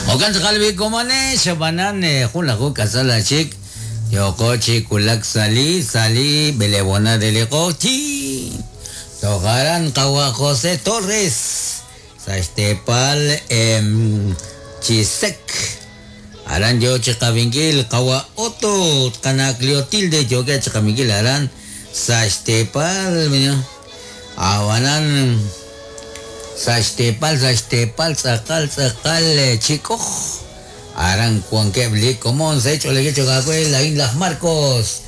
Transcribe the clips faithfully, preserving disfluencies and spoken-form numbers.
Okan tz'aqal komane xabanan jun laju kasala chik yoko chikulak sali sali belebona de liqochi tojaran qawa José Torres saxtepal em chisek aran yo chiqabinkil qawa Otto qana Cleotilde yoke chiqabinkil aran saxtepal awanan saxtepal saxtepal tz'aqal tz'aqal chikoj aran kuankebli komon se hecho le hecho la Inla Marcos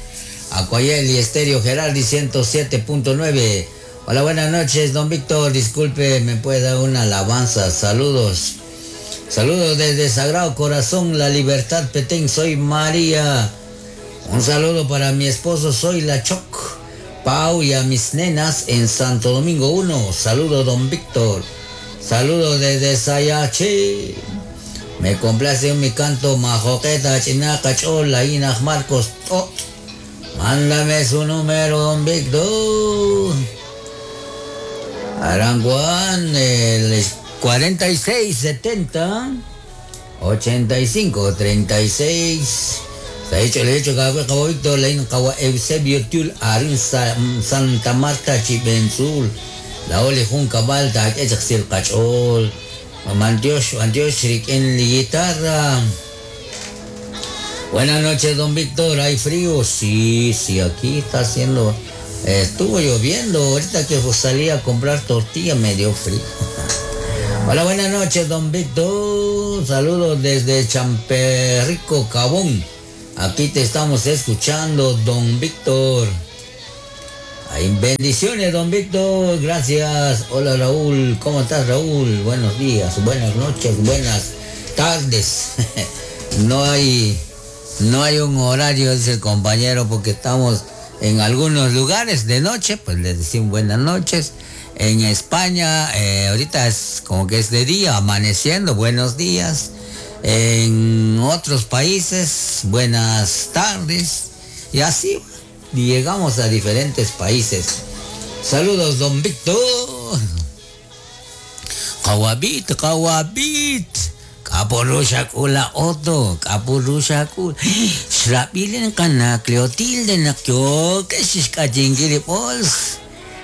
Acuayel y Estéreo Gerardi ciento siete punto nueve. Hola, buenas noches, don Víctor, disculpe, me puede dar una alabanza. Saludos. Saludos desde Sagrado Corazón, La Libertad, Petén, soy María. Un saludo para mi esposo, soy la Choc, Pau y a mis nenas en Santo Domingo uno. Saludos, don Víctor. Saludos desde Sayachi. Me complace mi canto majoqueta, chinaca, chola, Inaj Marcos, tot. Mándame su número, don Víctor. Aranguán, el cuarenta y seis setenta, ochenta y cinco treinta y seis. Se ha hecho el hecho, cabo Víctor, Lein, cabo Eusebio Tul, Arin Santa Marta, Chipenzul, La Ole Junca Balta, Echxil Cachol, Mantiosh, Antiosh, en la guitarra. Buenas noches, don Víctor, ¿hay frío? Sí, sí, aquí está haciendo... Estuvo lloviendo, ahorita que salí a comprar tortilla me dio frío. Hola, buenas noches, don Víctor. Saludos desde Champerrico, Cabón. Aquí te estamos escuchando, don Víctor. Ay, bendiciones, don Víctor. Gracias. Hola, Raúl. ¿Cómo estás, Raúl? Buenos días, buenas noches, buenas tardes. No hay, no hay un horario, dice el compañero, porque estamos en algunos lugares de noche, pues les decimos buenas noches. En España, eh, ahorita es como que es de día, amaneciendo, buenos días. En otros países, buenas tardes. Y así llegamos a diferentes países. Saludos, don Víctor. Kawabit, kawabit. Kapurushakula Otto, kapurushakula. Shrapilin ka na, Cleotilde na kyo, keshishkachingili pols.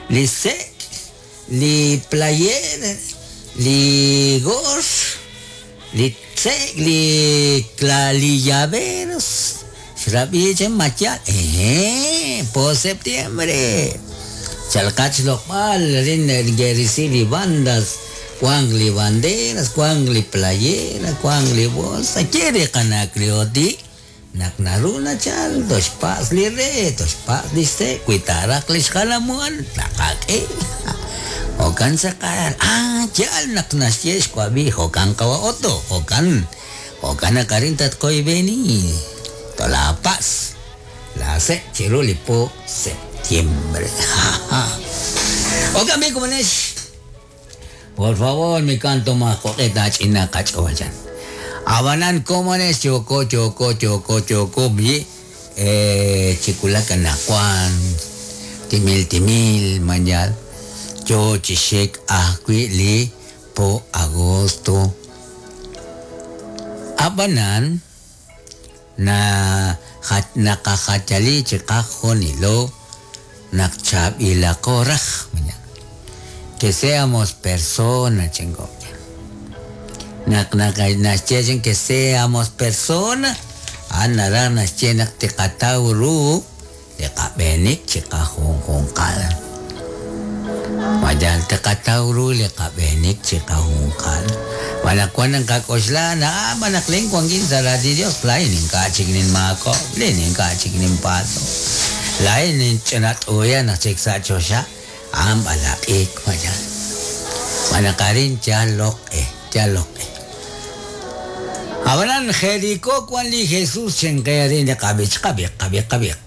Li sek, li player, li gors, li tsek, li clalillaveros. Shrapilin machal, eh, po septiembre. Chalcach lokpal, rin gerisili bandas. Cuangli banderas, cuangli playera, cuangli bolsa, quiere canacleoti, naknaruna chal, dos pasli re, dos pasli se, cuitaraklis jalamuan, nakake. Okan sakal, ah, chal naknasyesh cuabi, okan kawa oto, okan, okan akarintat koi beni, tola paz, la se, chirulipo, septiembre. Okan bi kumanesh. Por favor, mi canto más coqueta china cachoyan. Abanan comones choco choco choco choco bi eh chiculaca nacuan timil timil mañal yo chishek ajui li po agosto. Abanan na nakajachali chikajonilo nakchab ilakoraj mañal. Que seamos personas, chingón. Nak nak naschen que seamos personas. Anara naschen tikatauru tikabenik chikahungkal. Mayan tikatauru likabenik chikahungkal. Manakwan ang kakosla na manakling kwangin sa radi Dios lain ing kachignin mako, linin kachignin pato. Lain ing chinat uya na chiksa chosha. Am alakik mayan. Manakarin chalok eh, chalok eh. Hablan Jericó cuan li Jesús chenkearin de kabich kabik kabik kabik.